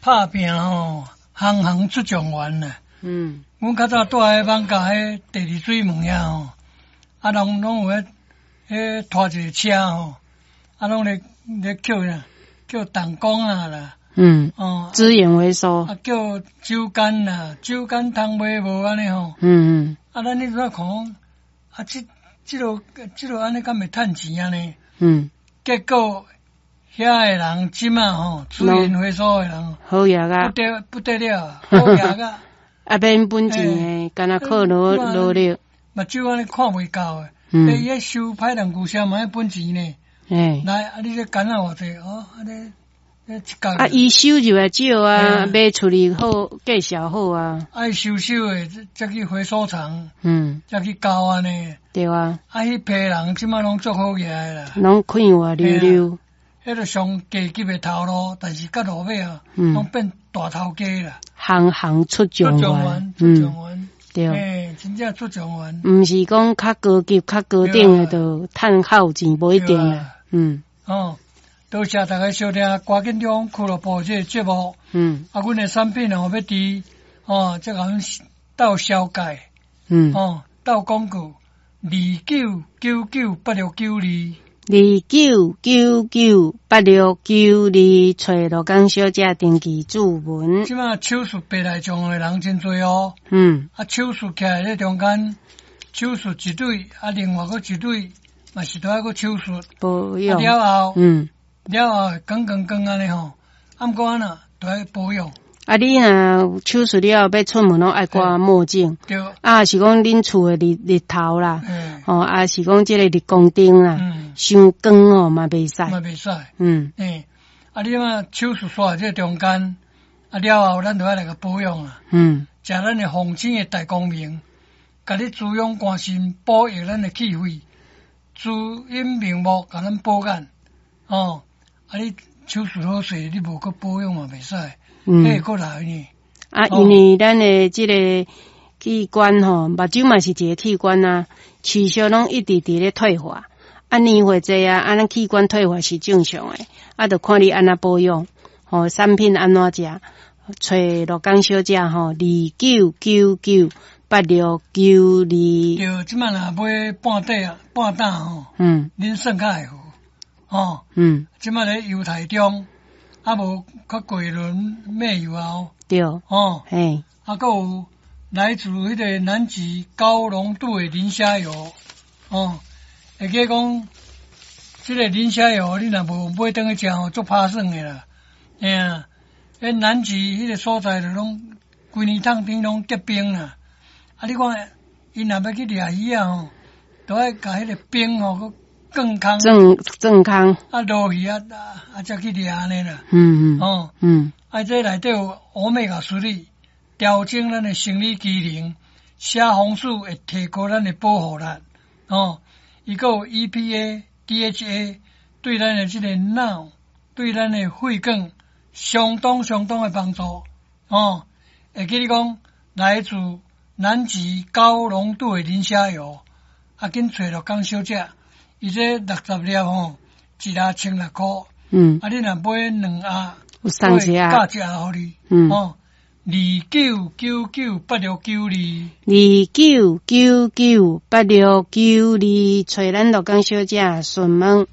拍拚吼，行行出狀元啦。阮較早蹛喺艋舺彼第二水門遐吼，啊，人攏有彼拖一个車吼，啊，攏咧叫啥？叫彈弓啊啦。資源回收。啊，叫酒矸啦，酒矸通賣無按呢吼？啊，咱彼陣看講，啊，這個按呢敢會趁錢按呢？結果遐个人這馬吼，資源回收的人，好額啊！不得了，好額啊！啊，免本錢的，敢若靠努力。目睭按呢看袂夠的，欸，伊收歹人牛車嘛愛本錢呢。來，啊，你這矸仔偌濟哦？按呢，啊，伊收入來少啊，賣出去好，價數好啊。愛收的，才去回收廠，才去交按呢。對啊。啊，彼批人這馬攏足好額的啦。攏快活溜溜。彼個上低級的頭路，但是到落尾啊，攏變大頭家啦。行行出狀元，出狀元，對。欸，真正出狀元。毋是講較高級、較高等的就趁較有錢，無一定啦。哦，多謝大家收聽，趕緊中俱樂部這个節目。啊，阮的產品哦，欲佇哦，這個鬥紹介。哦，鬥廣告，29998692。29998692，揣羅江小姐登記注文。這馬手術白內障的人真濟哦。啊，手術起來咧中間，手術一對，啊，另外閣一對，嘛是都愛閣手術。保養。啊，了後，了後光光光按呢吼，啊，毋過按怎，都愛保養。啊，你若手術了後欲出門攏愛掛墨鏡。對。啊，是講恁厝的日頭啦，吼，啊是講這個日光燈啦，傷光吼嘛袂使。嘛袂使。欸，啊，你嘛手術煞這中間，啊了後咱就愛來共保養啊。食咱的鳳青的大光明，共你滋養肝腎，補益咱的氣血，滋陰明目，共咱補眼。哦，啊你手術好勢，你無閣保養嘛袂使。會閣來呢。啊，因為咱的這个器官吼，目睭嘛是一个器官啊，持續攏一直佇咧退化。啊，年歲濟啊，啊，咱器官退化是正常的。啊，就看你按怎保養，吼，產品按怎食，揣羅江小姐吼，29998692。對，這馬若買半塊啊，半擔吼，恁算較會好，吼，這馬咧猶太中。啊，無較桂崙買油啊，哦，啊，閣有來自彼个南極高濃度的磷蝦油，哦，會記講，這个磷蝦油你若無買轉去食吼，足拍算的啦，嘿啊，彼南極彼个所在就攏規年冬天攏結冰啦，啊，你看，𪜶若欲去掠魚仔吼，都愛共彼个冰吼閣鑽空，鑽鑽空，啊落去啊啊，才去掠按呢啦。哦，啊，這內底有 Omega 3，調整咱的生理機能，蝦紅素會提高咱的保護力。哦，伊閣有 EPA、DHA，對咱的這个腦，對咱的血管相當相當的幫助。哦，會記你講來自南極高濃度的磷蝦油，啊，緊揣羅江小姐。伊這60粒吼，一盒1600箍。啊，你若買兩盒，有送一盒，加一盒予你。哦，29998692。29998692，揣咱羅江小姐詢問。